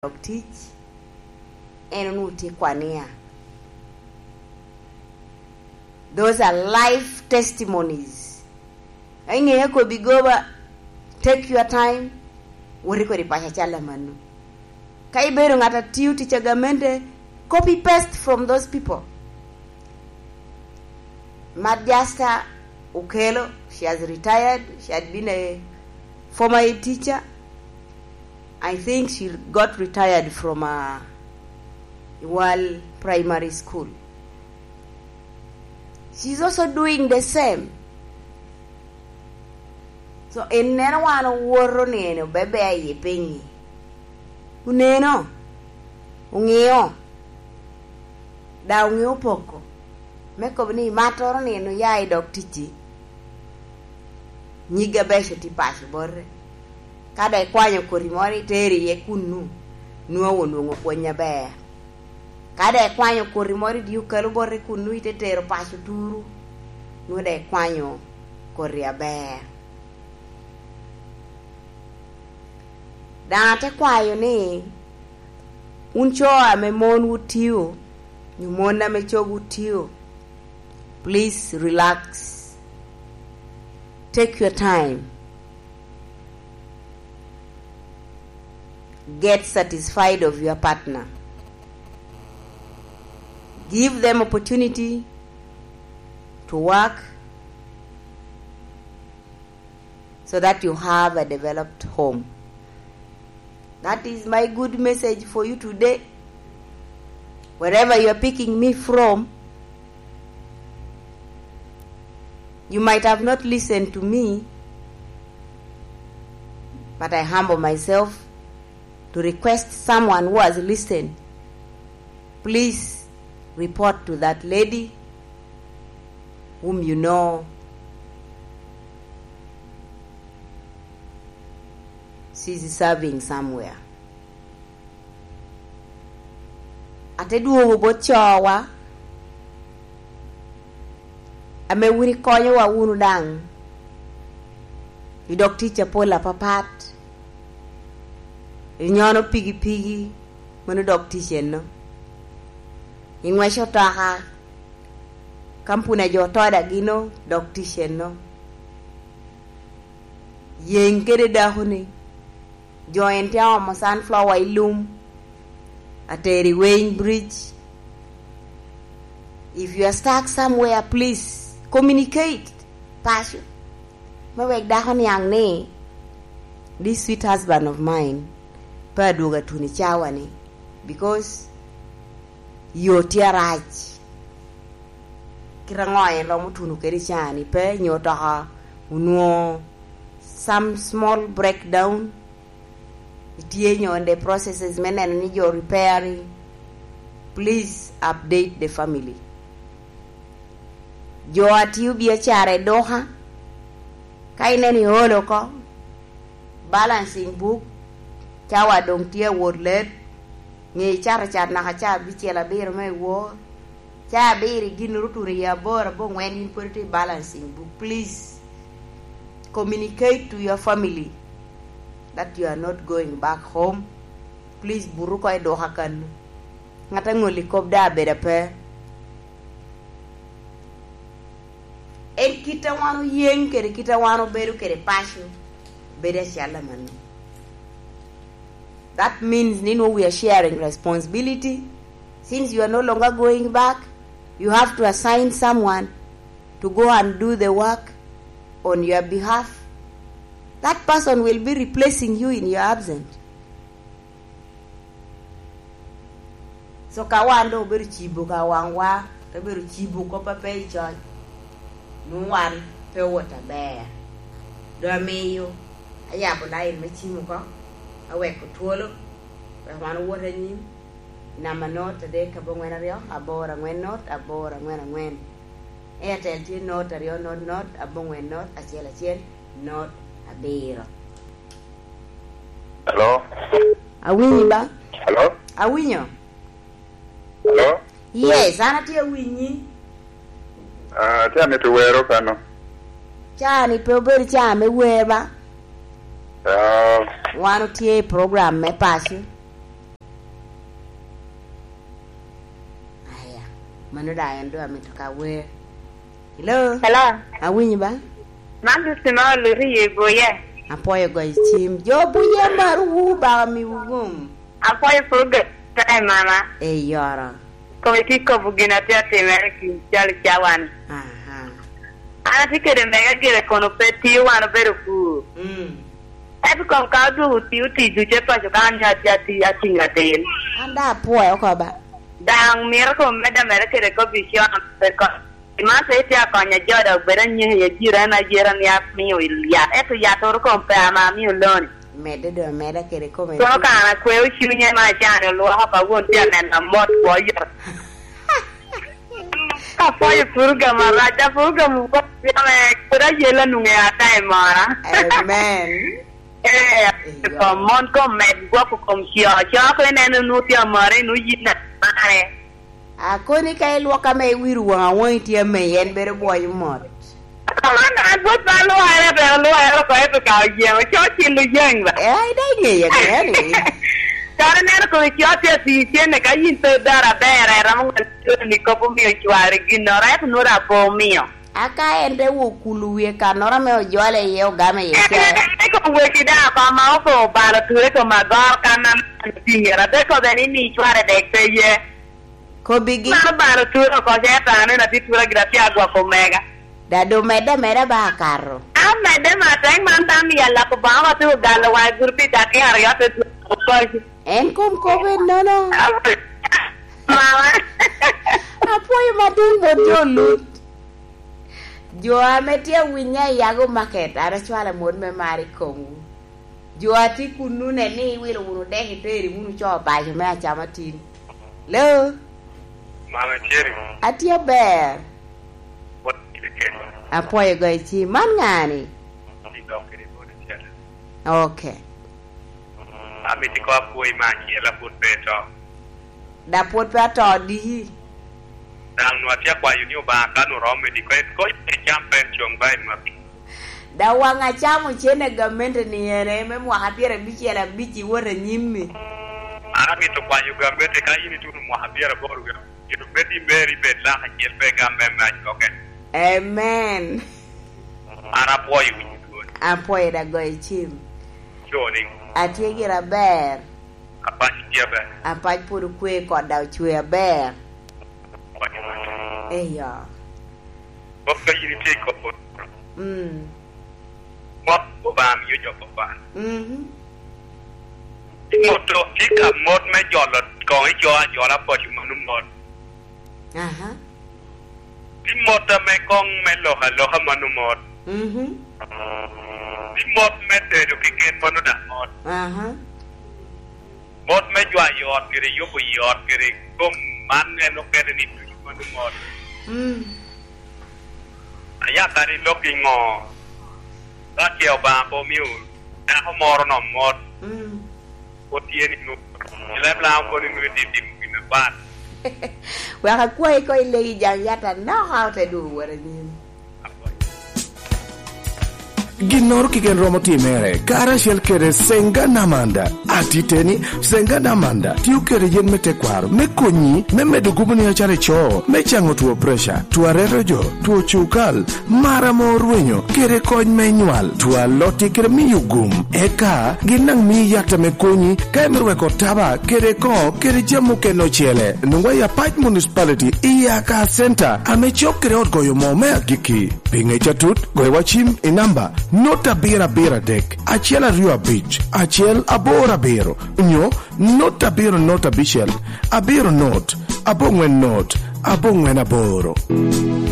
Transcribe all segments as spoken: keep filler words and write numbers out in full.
dok tic, en onwoŋo tye kwania. Those are life testimonies. Iŋeo kobbi goba, take your time, woti kodi paco acal amanno. Ka ibedo ŋat a tio tic a gamente, copy paste from those people. Madjasta Okelo, she has retired. She had been a former head teacher. I think she got retired from uh, Iwal Primary School. She's also doing the same. So, ineno wan owoto ni en obebe aye piny. Oneno, oŋeo, da oŋeo poko. Me kobo ni mattoro ni en oya i dog ticci. Nyig abeco tye paco bote. Ka da ikwanyo koti moro itero iye kunnu, nwoŋo onwoŋo pwony aber. Ka da ikwanyo koti moro i dye okalo bote kunnu ite tero paco turu, nwoŋo da ikwanyo koti aber. Daŋ ate kwayo ni, wun co ame monwu tio, nyo mon ame cogwu tio, please relax. Take your time. Get satisfied of your partner. Give them opportunity to work so that you have a developed home. That is my good message for you today. Wherever you are picking me from, you might have not listened to me, but I humble myself to request someone who has listened, please report to that lady whom you know she's serving somewhere. Ate dwogo bot cowa ame wun ikonyowa wunu daŋ i dog tic apol apapat. Inyono pigipigi, mano dog tic eno. Iŋweco toka, kampuni a jo toda gino, dog tic eno. Yeŋ kede dakoni, jo en tye aomo sunflower i lum, ateri Weighing Bridge. If you are stuck somewhere, please communicate. Paco. Me wek dako niaŋ ni, this sweet husband of mine pe adwogo atuno i cawa ni, because yo tye arac. Kit aŋo en romo tuno kede i caa ni pe, nyo toka onwoŋo some small breakdown, itye nyo in the processes me neno ni jo repairing, please update the family. Jo a tio biacara i duka, ka ineno iolo oko, balancing book, cawa doŋ tye awot let, ŋe icato cat naka ca abicel abiro me iwor, ca abiro i ginnoro otuno i aboro aboŋwen, yin pwod itye i balancing book. Please communicate to your family that you are not going back home. Please buto oko i duka kannu. Ŋat aŋolli kop daŋ abedo ape. En kit a wan oyeŋ kede kit a wan obedo kede paco bedo acel amanno. That means ni nwo we are sharing responsibility. Since you are no longer going back, you have to assign someone to go and do the work on your behalf. That person will be replacing you in your absence. So ka wan doŋ obedo cibo ka waŋwa, te bedo cibo kop a pe i coc, nwoŋo wan pe owot aber. Doŋ amiyo ayabo lain me cim oko, aweko twolo, wek wan owot anyim. Namba not adek aboŋwen aryo, aboro aŋwen not, aboro aŋwen aŋwen. Airtel tye not aryo not not, aboŋwen not, acel acel, not abiro. Hello? Awinyi ba? Hello? Awinyo. Hello? Yes, an atye awinyi. Ah, atye amito wero kano. Caa ni pe obedo caa me wer ba? Ah. Wan otye i program me paco. Mano daŋ en doŋ amito ka wer. Hello? Hello? Awinyi ba? Man Lucy ma Oluri i Buye. Apwoyo goyo cim. Jo Buye amarowu, Obaka miwu gum. Apwoyo pur gak i mama. Eyoro. Kome tye kobo gin atye atimere ki cal i cawan. Aha. An atye kede mega gire kono pe tio wan obedo pur. Mm. Ento kom ka odwogo oti, oti ducu e paco ka an atye ati-, atiŋ atin. An daŋ apwoyo oko ba. Daŋ mito kom medde ameda kede kop i con, pe ko-, man pe itye akonyo jo dok bedo anyeko i ajira, en ajira ni amio yat, ento yat oro kom pe ama amio loni. Medde doŋ ameda kede kome. Kono ka an akweo cunye ma acan olwoko ka won tye aneno amot kwo yot. Apwoyo purogam arac, a purogam ame pwod ayela nwoŋo ata i mora. Amen. Eh, Eyo. Kom mon kom med gwoko kom co. Co ko ineno nu tye amore, nu yin amare. Akoni ka ilwok ame iwiro waŋ awaŋi tye ame en bedo bwoyo mot. An, an pwod pe alwokere, pe alwokere oko, ento ka oyeŋo, co cil oyeŋ ba. Eh, ai, dai ŋeye, ŋeye ni. Kara ineno kome co tye atii cene, ka yin pe idoro aber, iromo ŋal ni kop omio cwari ginnoro, ento nwoŋo daŋ pe omio. Aka en te wo kulo wie kannoro ame ojole iye, ogame iye ca. En, en, en, en, wegi daŋ oko ma opo obalo ture kom agor kan ame otiŋere, abe kobbe ni mi cware dek pe ye. Kobbigi. Mano balo tura oko, ce ata aneno atye tura gire, atye agwoko omega. Da doŋ medde ameda ba akato. An medde ma atek man, dano ni alako Obaŋa ma tye ogalo waŋe guru pi dakika aryo, te dwogo paco. En kom kop ennono. Mama. Apwoyo madwong bot jo Lut. Jo ame tye awinya i Yago Market, an acwalo amot me mar i komwu. Jo a tye kunnu, nen ni iwilo wunu dek, itero wunu co paco me acama tin. Hello? Mama Cherry. Atye aber. Pwod itye kene? Apwoyo goyo cim. Man ŋa ni? Idok kede boda cel. Ok. Amito ko apwoyi me acel, a pwod pe to. Da pwod pe ato diki. Daŋ nwa tye akwayo ni Obaŋa ka nu romo i diko, en kony me cam pen coŋ ba i maki. Da waŋ acamo cene gamente ni ene me mwaka pyerabicel abic i wot anyim-mi. An amito kwayo gamente ka yin ituno mwaka pyeraboro gire, ito med i meri bed lak acel pe gam me mac koken. Amen. An apwoyo winyo dwol. Apwoyo da goyo cim. Coni. Atye gire aber. Apac tye aber. Apac pwod okwe, kot daŋ ocwe aber. Eyo. Bot ka yin itye i kop poto. Mm. Mot Obaŋa miyo jo kop poto. Mhm. Mot tye ka mot me jolo koŋ ico ajola paco mano mot. Aha. Tye mot ame koŋ me lok aloka mano mot. Mhm. Tye mot me tedo keken mano daŋ mot. Aha. Mot me jwayo ot kede yubo i ot kede kom man en okene ni ducu mano mot. Mm. Aya kadi lok i ŋo? Ka ce Obaŋa pe omio dako moro no mot. Mm. Pwod tye ni nwoŋo. I leb Laŋo kono nwoŋo itye timo gin apat. Wek akwayi ko ilegi jaŋ yat anaka, ote dwogo wot anyim. Ginnoro keken romo timere karacel kede Senga Namanda. Atiteni, Senga Namanda tio kede yen me tekwaro me konyi me medo gubo ni acalo ico, me caŋo two preca, two areto jo, two cukal, mar ame orwenyo, kede kony me nywal, two alotti kede miyo gum. Eka gin daŋ mii yat ame konyi ka imito weko taba kede koŋo kede jami mukene ocele. Nwoŋo i Apac Municipality i Aka Center ame cok kede ot goyo moo me agikki. Pi ŋec atut, goyo wa cim i namba not abiro abiro adek, acel aryo abic, acel aboro abiro, nyo not abiro not abicel, abiro not, aboŋwen not, aboŋwen aboro.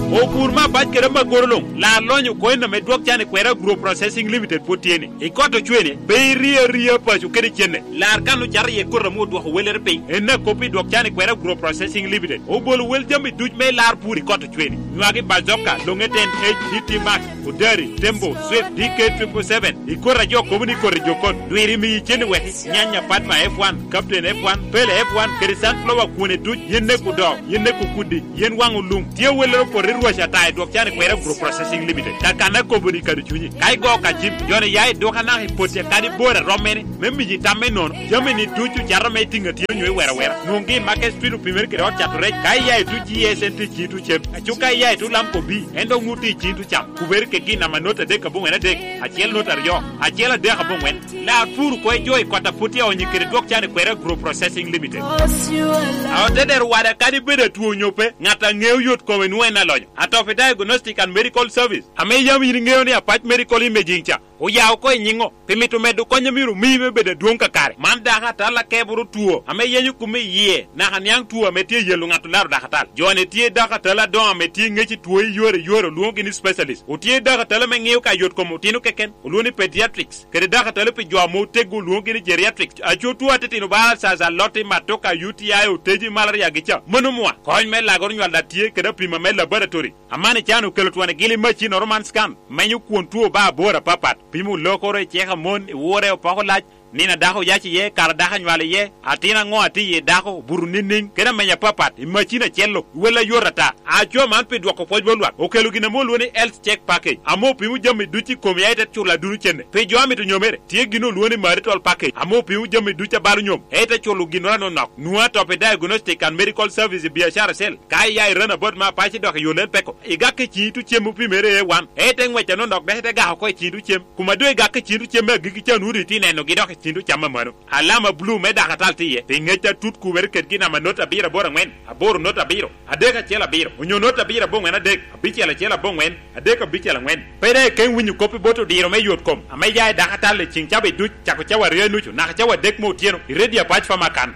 Opur me abac kede amagoro luŋ, lar lonyo koen ame dwok can i kwera Agro Processing Limited pwod tye ni. I kot ocwene, pe iri aria paco kede cene. Lar kan ocato iye koti ame odwoko wellere piny. En akop i dwok can i kwera Agro Processing Limited. Obolo wel jami duc me lar pur i kot ocwene. Nywagi bazoka, longe ten H D T Max, Odari, Tembo, Swift, D K triple seven. I koti a jo kobo ni koti jokon. Dwiri miyi cene wek nyanya Padma F one, Captain F one, Pele F one, kede sunflower kwone duc, yin ne kudo, yin ne kuku. Kudi, yen waŋ olum. Tye awelloro poto i rwac ata i dwok can i kwera Group Processing Limited. Kakan akobo ni kado cunyi. Ka igo ka cim, joni ya i duka naka i potti akadi bor a rom mene, me miji tam me nono. Jami ni ducu cato me itiŋ atye onyo i wera wera. Nwoŋgi i Market Street opimere kede ot cato rec. Ka iya i tuc G S N T cito cem. Aco ka iya i tuc Lamco B, en dok ŋutti i cito cam. Kubere ke gin namba not adek aboŋwen adek, acel not aryo, acel adek aboŋwen. Lar pur ko i jo i kota put i onyi kede dwok can i kwera Group Processing Limited. A otedero wada kadi bedo atwo onyo pe, ŋat a ŋeo yot kome nwoŋo en alonyo. Atopi Diagnostic and Medical Service, ame yam in iŋeo ni Apac Medical Imaging ca, oya oko i nyiŋo, pi mito medo kony a myero omii me bedo adwoŋ kakare. Man dako atal akeboro two, ame yenyo kume i yie, naka niaŋ two ame tye yelo ŋat olaro dako atal. Jo-ni tye dako atal adoŋo ame tye ŋec i two i yore yore, olwoŋogi ni specialist. Otye dako atal ame ŋeo ka yot kom otino keken, olwoŋo ni pediatrics. Kede dako atalo pi jo ame oteggo olwoŋogi ni geriatric. Aco two atitino ba alsas, aloti, matoka, U T I, oteji, malaria gi ca. Mano mwa. Kony me lagoro nywal daŋ tye kede apima me laboratory. Aman ican okelo twon i gili macinnoro man scan. Menyo kwon two ba abor apapat. Pimo lokoro i cek a mon, i wure, opoko lac, nino a dako oyac iye, kara dako anywalo iye, atin aŋo atye iye dako, buto niniŋ, kede amenya apapat, i macin acel-lo, wel ayot ata. Aco man pi dwoko pwoc bot lwak, okelo gin ame olwoŋo ni Health Check Package, ame opimo jami ducu i komi, a ite culo aduno cene. Pi jo a mito nyomere, tye gin olwoŋo ni Marital Package, ame opimo jami ducu a balo nyom, a ite culo ginnoro anonok. Nwoŋo atop i Diagnostic and Medical Service i biacara cell, ka iya i Runabout me Apac idok i yo Lel Peko, igak i ciŋ itu cem opimere A one, a ite ŋwec anonok dok ite gak oko i ciŋ itu cem. Kuma doŋ igak i ciŋ itu cem me agikki ca, nwoŋo doŋ itye nenogi dok i ciŋ itu cam amano. Alama bulu me dako atal tye iye, pi ŋec atut kubere kede gin namba not abiro aboro aŋwen, aboro not abiro, adek acel abiro, onyo not abiro aboŋwen adek, abicel acel aboŋwen, adek abicel aŋwen. Pe daŋ ikeŋ winyo kop i bot odiro me yot kom ame ya i dako atal i ciŋ cawa duc, cako cawa aryo i nucu naka cawa adek me otyeno, i redio Apac Famakan.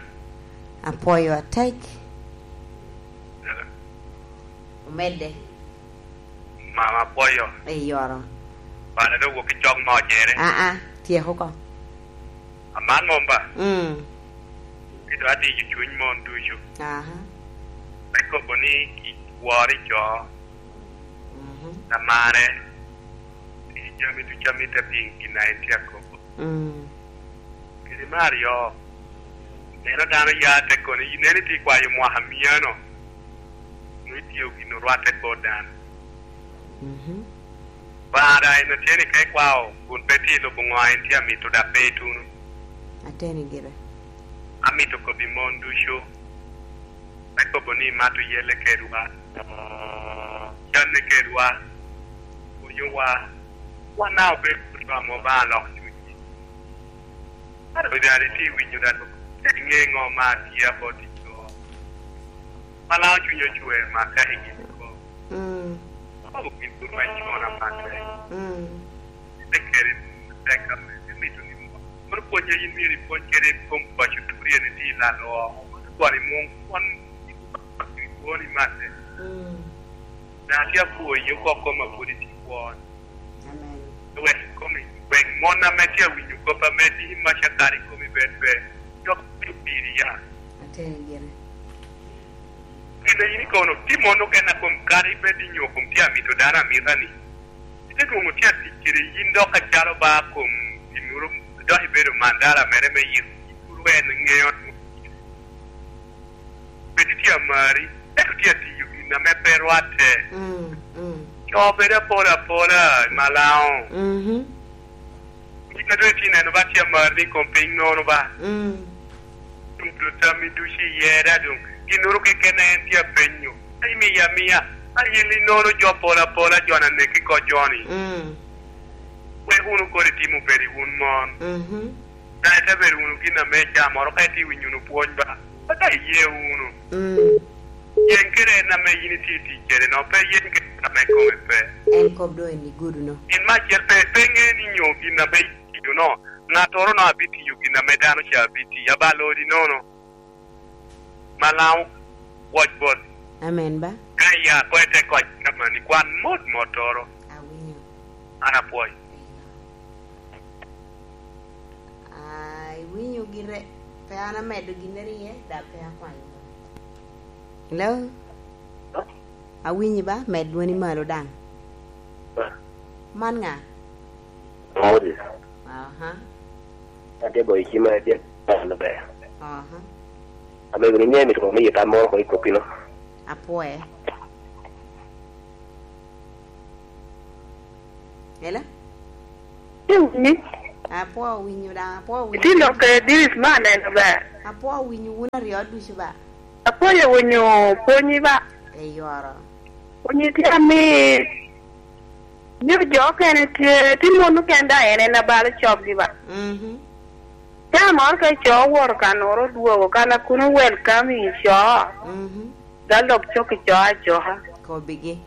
Apwoyo atek. Omedde. Mama apwoyo. Eyoro. Bana dok wok i cok mo cere. Aa, tyeko oko. Aman mom ba? Mm. Kito adiyo cuny mon ducu. Aha. Me kobo ni iworo i co. Mhm. Amare. I jami ducu amito apiŋ gin a en tye akobo. Mm. Kede me aryo, neno dano ya te kono, inen itye kwayo mwaka myano, nwoŋo itye gin orwatte kor dano. Mhm. Bara en otye ni ka ikwao, kun pe tye i lobo ŋo a en tye amito, dok pe ituno. Ateni gire. Amito kobbi mon ducu, me kobo ni imato yelle kedwa, canne kedwa, pwonyowa, wan daŋ obedo kuto amo ba alok cunygi. Ado daŋ itye winyo daŋ, iŋe ŋo ma tye abot i co. Malaŋo cuny ocwer maka i gin ko. Mm. Kobo gin kun weny con amaka. Mm. Te keri tek ame, te mito ni mo. Kono pwony a yin myero ipwony kede i kom paco turi en iti lalo oko. Kono kwani mung kwon i kwoni mate. Mm. Daŋ atye apwoyi oko koma pwod itye kwon. Amen. Wek komi, wek mon ame tye awinyo kop ame tye maca kare i komi bed ber. Jok me piri ya. Ateni gire. Kede yin ikono, tye mon okene a kom kare ibed i nyo kom tye amito dano amita ni. Ite dwoŋ otye atic kede yin dok acalo ba kom ginnoro, dok ibedo mandala mere me yito. Yin pwod en ŋeo. Pe tye amari, ento tye atiyo gin ame pe rwatte. Mm, mm. Co bedo apola apola, malaŋo. Mhm. Gin a doŋ itye neno ba tye amari ni kom piny nono ba. Mm. Tudo tammi ducu iye da doŋ. Ginnoro keken a en tye apenyo. Imiyo amiya. A yin inono jo pol apola, jo-ni aneki ko jo-ni. Mm. Wek wunu kono itimo bed i wun mon. Mhm. Daŋ ite bedo wunu gin ame icamoro, ka itye winyo wunu pwony ba, ata iye wunu. Mm. Yen kede en ame yin itye tic kede no, pe yen kede en ame kome pe. En kop doŋ en igudo-no. In me acel pe, pe ŋe ni nyo gin ame itiyo no, ŋattoro no abitiyo gin ame dano ca abitiyo, abalo odi nono. Malaŋo, woc bot. Amen ba. Ka iya ko ite koc kamani, kwan mot mottoro. Awinyo. An apwoyo. Eyo. Ah, iwinyo gire, pe an amedo ginnere iye, dok pe akwanyo. Hello? Awinyi ba, med dwoni malo daŋ. Ba. Man ŋa? Moses. Aha. Atye goyo cima, atye ka neno ber. Aha. Amego ni, ŋe mito me yita moro oko i koppino. Apwoye. Hello? Iwinyi? Apwoyo winyo daŋ, apwoyo winyo. Itye lok i diris me aneno ber. Apwoyo winyo wun aryo ducu ba. Apwoyo winyo pwonyi ba. Eyoro. Pwonyi tye amit. Ni jo okene tye, tye mon okene daŋ en en abalo coggi ba. Mhm. Caa moro ka ico owoto ka noro odwogo, kan a kuno welcome i co, mhm, ga lok cok i co acoka. Kobigi.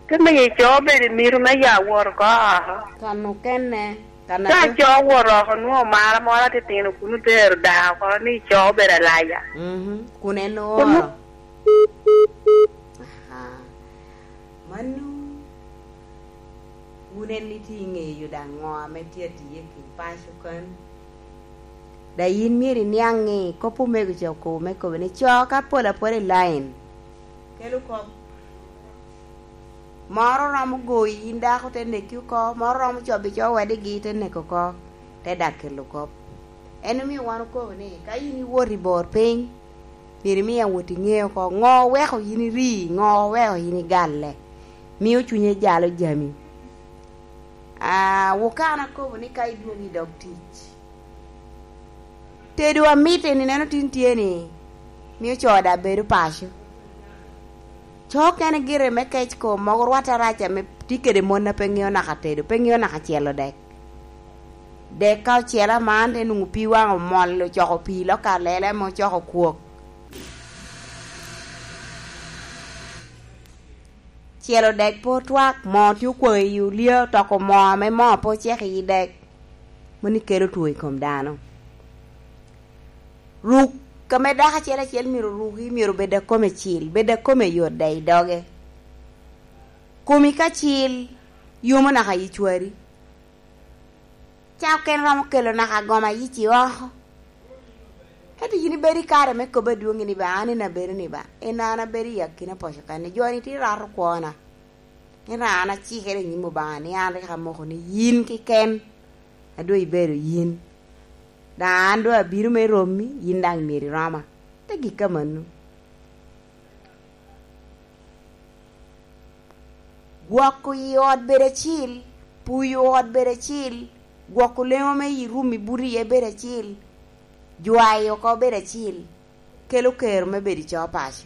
Te miyo i co obedo i mito me ya wot oko oko. Kan okene, kan ka aco- co owoto oko, nwoŋo mara moro atitino kuno tero daa oko ni i co obedo alaya. Mhm. Kun en Kun- ooro. Aha. Mano, wun en itye i ŋeyo daŋ ŋo ame tye atiye ki paco kan? Da yin myero iniaŋ ni kop omego ca okobo me kobo ni co ka pol apola i lain, kelo kop. Moro romo goyi yin dako te neki oko, moro romo cobi co wadigi te neko oko, te dak kelo kop. En omio wan okobo ni ka yin iwot i bor piny, myero imi awot iŋe oko ŋo oweko yin iri, ŋo oweko yin igalle, mio cunye jalo jami. Ah, wukana akobo ni ka idwogo i dog tic, tedo amit eni neno tin tye ni, mio co daŋ bedo paco. Co okene gire me kec kom mogo rwatte arac ame tye kede mon a pe ŋeo naka tedo, pe ŋeo naka celo dek. Dek ka ocel aman, te nwoŋo pii waŋ omol, ocoko pii lok alele ame ocoko kwok. Celo dek pe otwak, moo tye okwaŋ i olya, toko moo ame moo pe ocek i dek. Mano kelo two i kom dano. Ruk ame dako acel acel myero oruki, myero obed akome cil, bed akome yot daŋ i doge. Komi ka cil, yomo naka yi cwari. Ca okene romo kelo naka goma yici oko. Ento yin ibedo i kare me kobbe adwoŋ ni ba, an en abedo ni ba, en an abedo i akina poco kan ni jo-ni tye rato kwona. Ento an acikere i nyim Obaŋa ni an rik amoko ni yin keken a doŋ ibedo yin. Daŋ an doŋ abino me romi, yin daŋ myero iroma. Te gik amanno. Gwoko i ot bedo acil, puyo ot bedo acil, gwoko leŋo me i rum i buto iye bedo acil, jwayo oko bedo acil, kelo kero me bedo i coo paco.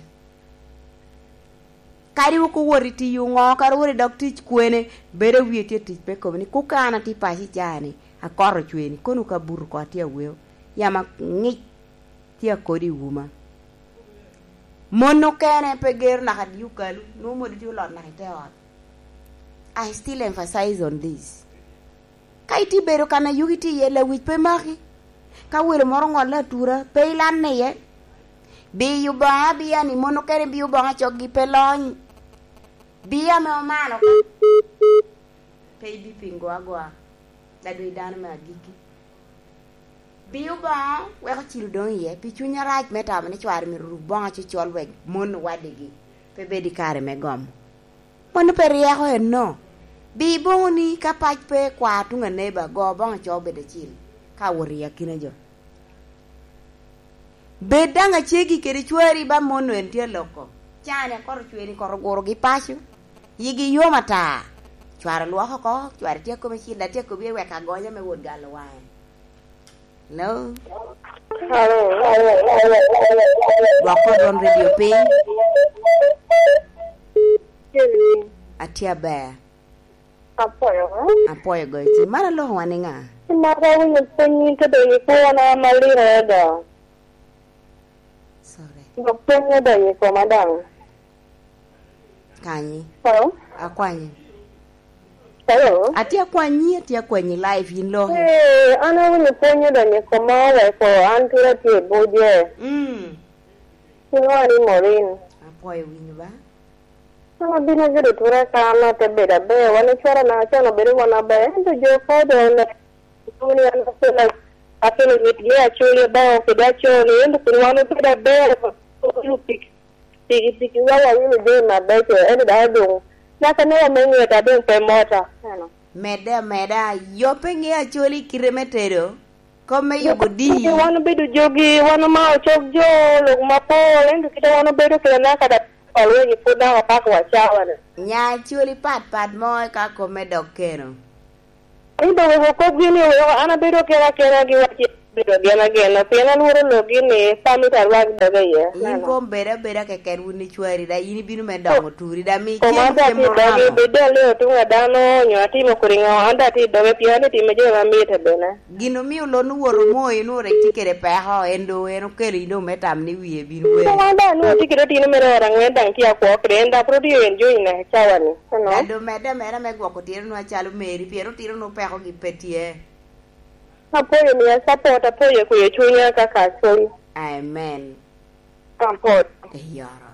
Kadi wok owot i tiyo ŋo, kadi owot i dog tic kwene, bedo awie tye tic me kobo ni, "Kuka an atye paco i caa-ni, akot ocwe-ni, kono ka buto oko atye aweo, yamo aŋic tye akodi i wuma." Mon okene pe gero naka dye okalu, nwoŋo modi tye olot naka i te ot. I still emphasize on this. Ka itye bedo kan a yugi tye iye, lewic pe maki. Ka welo moro oŋolle atura, pe ilanne iye. Biyo Obaŋa, biya ni mon okene biyo Obaŋa coggi pe lony. Biya ame omano ka. Pe ibipingo agoa, ladwe dano me agikki. Biyo Obaŋa weko cilo doŋ iye, pi cuny arac me tamo ni cware myero oruk boŋo cocol wek mon owadigi pe bed i kare me gomo. Mano pe ryeko enno. Bi boŋoni ka pac pe, kwa tuŋ aneba, go boŋo co bed acil, ka wot i akina jo. Bed daŋ acegi kede cwari ba mon en tye aloko. Cani akot ocweri kot ogurogi paco. Yigi yom ata. Cware lwoko oko, cware tye akome cil, atye akobi wek agonya me wot galo waŋe. Hello? Hello? Dwok kor dwon radio piny. Atye aber. Apwoyo, eh? Apwoyo goyo cim. Man aloko wa ni ŋa? Maka winyo pwony te donyo i kwona maliro ada. Sorry. Dok pwony odonyo i koma daŋ. Kanyi. Hello? Akwanyi. Hello? Atye akwanyi, atye akwanyi live, yin loki. Eh, an awinyo pwony odonyo i koma, weko an tura tye i Buje. Mm. Kiwa ni Morin. Apwoyo winyo ba. An abino gudo tura ka an ate bedo aber, wan icwara na acalo obedo wan aber, ento jo ka doŋ oneno ni an akelo, akelo mit me Acholi baŋo kede Acholi, ento kun wan obedo aber, olu piki, piki, piki wa wawilo jami mabeco, ento daŋ odoŋ naka ne wame ŋeta doŋ pe mota. Eno. Medde ameda, yobbe ŋe Acholi kite me tedo, kop me yubo dii. Wan obedo jogi, wan omao cog jo, lok mapol, ento kite wan obedo kede naka da Alweny pwod daŋ apako wa cawa-ni. Nya coli pat pat mo eka kop me dok keno. Ni dong wek okobgi ni wek an abedo kena kena gi waci abedo agena agena, pien alworo logi ni pamit arwak doga iye. In kom bed abeda keken wun icwari, da in ibino me dongo turi, da mi Koma cen ata tye ti mo dogi, ramo. Bed dong aleo tuŋ a dano, nyo atimo kodi ŋo, an da ti doge pien an itime jo ma mitte bene. Gin omio lon owoto moo, in orik tye kede peko, en do en okelo in dong me tam ni wie bino wel. Wan daŋ nwoŋo tye kede otino mere ot angwen daŋ tye akwo kede en, dok pwod otye en joni naka cawa-ni. Eno. Dado medde ameda me gwoko otino nwa calo meri, pien otino nwa peko gi pe tye. Apwoyo miya support, apwoyo kweyo cunya ka ka cwiny. Amen. Support. Eyoro.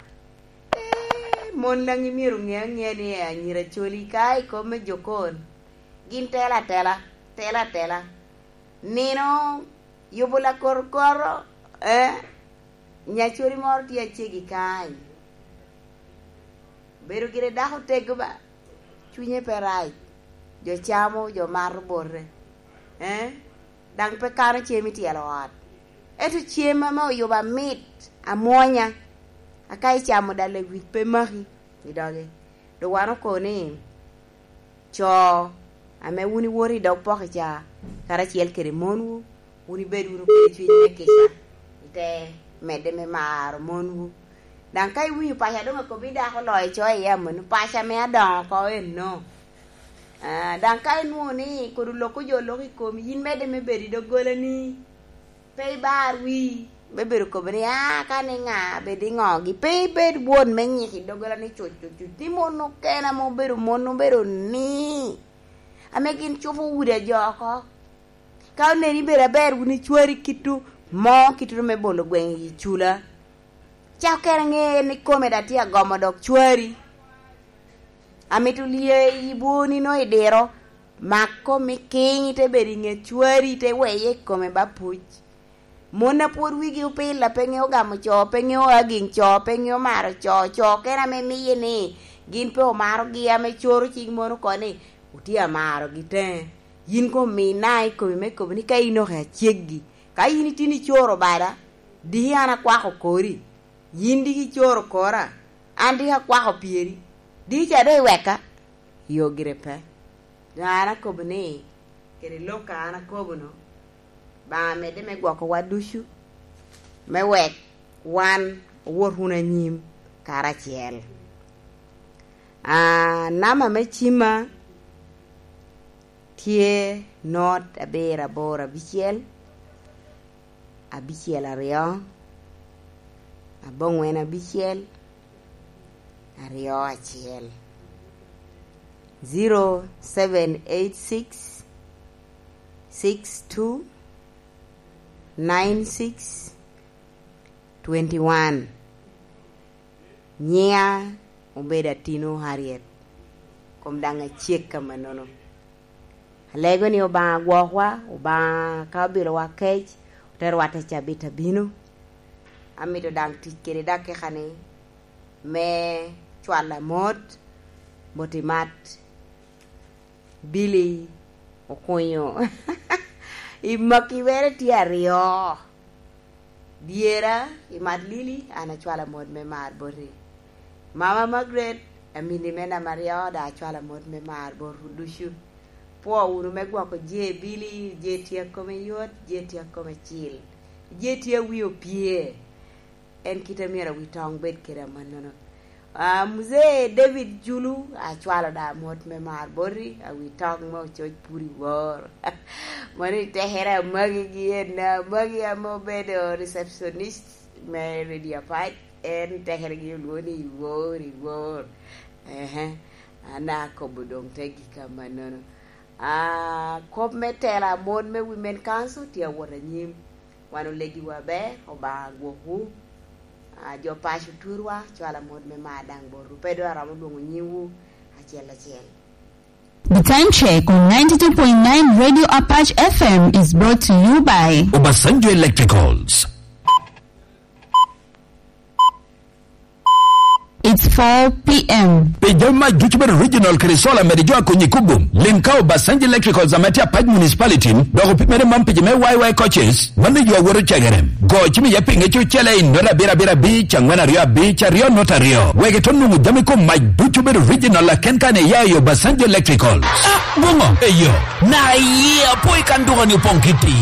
Eh, mon daŋ imyero ŋe aŋea ni anyira coli ka i kom me jokon. Gin tela atela, tela atela. Nino yubo lakoro koro, eh? Nyacodi moro tye acegi kany. Bedo gire dako tego ba. Cwinye pe rac. Jo camo, jo mato bote. Eh? Daŋ pe kano cem i tyelo ot. Ento cem ame oyubo amit, amwonya. Aka icamo dal lewic pe maki i doge. Dok wan okobo ni, co ame wun iwoto i dog poki ca, karacel kede monwu, wun ibed wunu kede cwiny me kica, ite medde me maro monwu. Daŋ ka iwinyo paco a doŋ akobo i dako oloo icoyo iye amanno, paco ame adoŋo oko enno. Ah, daŋ ka inwoŋo ni kodi oloko jo oloko i komi, yin medde me bedo i doggolani. Pe ibar wii, me bedo kobo ni, "Ah, ka ni ŋa, bed i ŋogi." Pe ibed won me nyik i doggola ni cuc, cuc, cuc. Ni mon okene ame obedo mon, obedo ni. Ame gin cupo udi a jo oko. Ka oneni bedo aber wun icwari kitu mo, kitu me bolo gweŋ i cula. Cak kene ŋe ni kome da tye agomo dok cwari. Amito lye i bwoni no i diro, mak komi kiny, ite bedo i ŋet cwari, ite weye i kome ba puc. Mon a pwod wigi opil, a pe ŋeo gamo co, pe ŋeo agiŋ co, pe ŋeo maro co, co kene ame miye ni gin pe omarogi, ame coro cik mon oko ni, "Otye amarogi teŋe." Yin komi ina i komi me kobo ni ka in oke aceggi, ka in itye ni icoro bada, diki an akwako kori, yin diki icoro kora, an diki akwako pyeri, diki ca doŋ iweka. Yo gire pe. Doŋ an akobo ni, kede lok a an akobo-nu, Obaŋa medde me gwokowa ducu, me wek wan owot wunu anyim karacel. Ah, namba me cimma tye not abiro aboro abicel, abicel aryo, abongwen abicel, aryo acel. Zero seven eight six, six two, nine six, twenty one. Nyiŋa obedo Atino Harriet, kom daŋ acek amannono. Alego ni Obaŋa gwokwa, Obaŋa ka obilowa kec, oterowa te cabit abino. Amito daŋ tic kede dakika-ni me cwalo amot bot i mat Billy Okunyo. I maki mere tye aryo. Dyera, i mat Lili, an acwalo amot me mar boti. Mama Margaret, amini me namba aryo, daŋ acwalo amot me mar botwu ducu. Pwo wunu me gwoko je Billy, je tye akome yot, je tye akome cil, je tye awi opye. En kite myero awi toŋ bed kede amannono. Ah, Mzee David Julu, acwalo da amot me mar boti, awi toŋ me ococ pud i wor. Mano i tekere amagi gi en, amagi ame obedo receptionist me Radio Apac, en tekere gi olwoŋo ni i wor, i wor. Ehe, an akobo doŋ te gika amannono. Ah, kop me tela mon me Women Council tye awot anyim. Wan olegiwu aber, Obaŋa gwokwu. Ah, jo paco turwa, cwalo amot me mar daŋ botwu. Pe doŋ aromo lwoŋo nyingwu acel acel. The time check on ninety-two point nine Radio Apache F M is brought to you by Obasanjo Electricals. four p.m. Pi jami mac ducu bedo original kede solar, mede jo a konyi i kubum. Lim ka Obasanjo Electricals ame tye Apac Municipality, dok opimere man pi jo me Y Y coaches, mano yo a woto cegere. Go cim iye pinge cucele i nota abiro abiro abic, angwen aryo abic, aryo nota aryo. Wek ito nwoŋo jami kom mac ducu bedo original aken kan iya i Obasanjo Electricals. Ah, boŋo, eyo. Na iye apo i kan duka ni opoŋ kiti.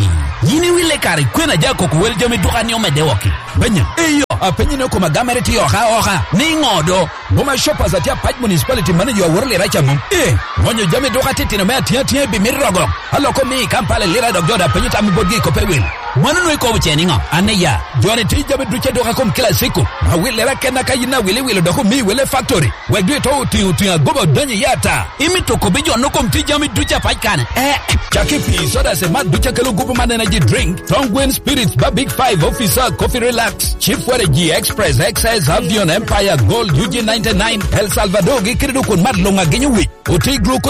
Yin iwille kare kwena ja koko wel jami duka ni omedde wok. Benya, eyo, apenyi ni okoma gamere tye oka oka, ni ŋo do? Boma Shoppers atye Apac Municipality manager aworo lira ca mom. Eh, ŋonyo jami duka titino me atiŋ atiŋ i bimit rogo. Aloko mi i Kampala lira dok jo da penyo tam i botgi i kope wil. Mano nwe ikobo ce niŋo? An iya, joni ti jami duce duka kom kila siko. Awil lira kenna ka yin awil iwilo dok omi wele factory. Wek dwe to otiŋo otiŋo agoba odonyo i ata. Imito kobbi jo no kom ti jami duce Apac kane? Eh, caki pi soda se mat duce kelo gupu man energy drink. Tongwen Spirits ba Big Five, Officer, Coffee Relax, Chief Waragi, Express, X S, Avion, Empire, Gold, U G ninety-nine, El Salvador, gi kede dok kun mat luŋ agenyo wic. Oti glucose